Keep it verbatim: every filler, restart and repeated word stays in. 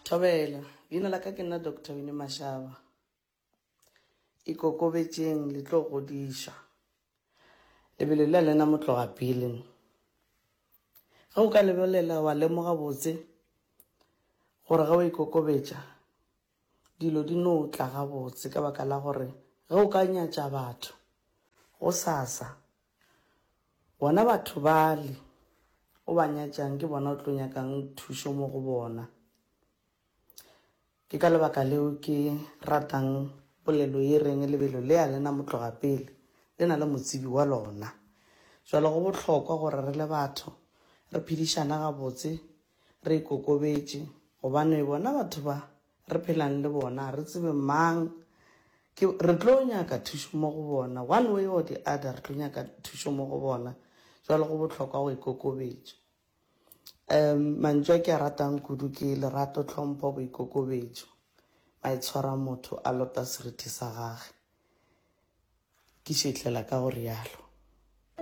Thobela, leina la ka ke nna Doctor Winnie Mashaba. Ikokobetšeng le tlo godišwa. Lebelo le lena motloga pele. Ge o ka lebelela wa lemoga botse gore ge o ikokobetša dilo di no tla gabotse ka baka la gore ge o ka nyatša batho go sasa bona batho bale o ba nyatšang ke bona o tlo nyakang thušo mo go bona. Ke ka lebaka leo ke ratang polelo ye reng lebelo le a lena motloga pele le na le motsebi wa lona. Jwale go bohlokwa gore re le batho re phedišane gabotse re ikokobetše gobane bona batho ba re phelang le bona re tsebe mang ke re tlo nyaka thušo mo go bona one way or the other re tlo nyaka thušo mo go bona jwale go bohlokwa go ikokobetša um mantšu a ke a ratang kudu ke lerato tlhompho boikokobetšo maitshwaro a motho a lota seriti sa gage ke šetlela ka go rialo.